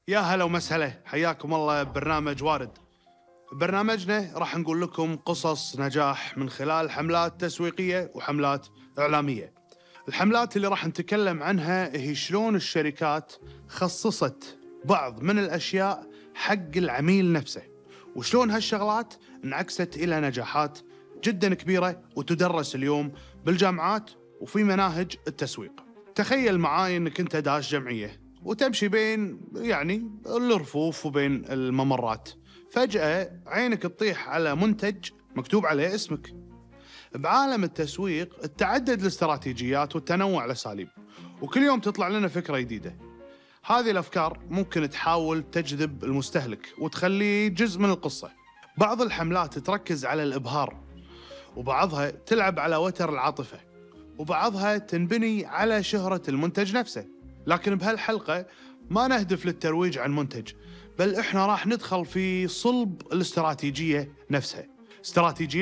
يا هلا ومسهلا، حياكم الله ببرنامج وارد. ببرنامجنا راح نقول لكم قصص نجاح من خلال حملات تسويقية وحملات إعلامية. الحملات اللي راح نتكلم عنها هي شلون الشركات خصصت بعض من الأشياء حق العميل نفسه، وشلون هالشغلات انعكست إلى نجاحات جدا كبيرة وتدرس اليوم بالجامعات وفي مناهج التسويق. تخيل معاي انك انت داش جمعية وتمشي بين الرفوف وبين الممرات، فجأة عينك تطيح على منتج مكتوب عليه اسمك. بعالم التسويق تعدد الاستراتيجيات والتنوع الأساليب، وكل يوم تطلع لنا فكرة جديدة. هذه الأفكار ممكن تحاول تجذب المستهلك وتخليه جزء من القصة. بعض الحملات تركز على الإبهار، وبعضها تلعب على وتر العاطفة، وبعضها تنبني على شهرة المنتج نفسه. لكن بهالحلقة ما نهدف للترويج عن منتج، بل إحنا راح ندخل في صلب الاستراتيجية نفسها. استراتيجية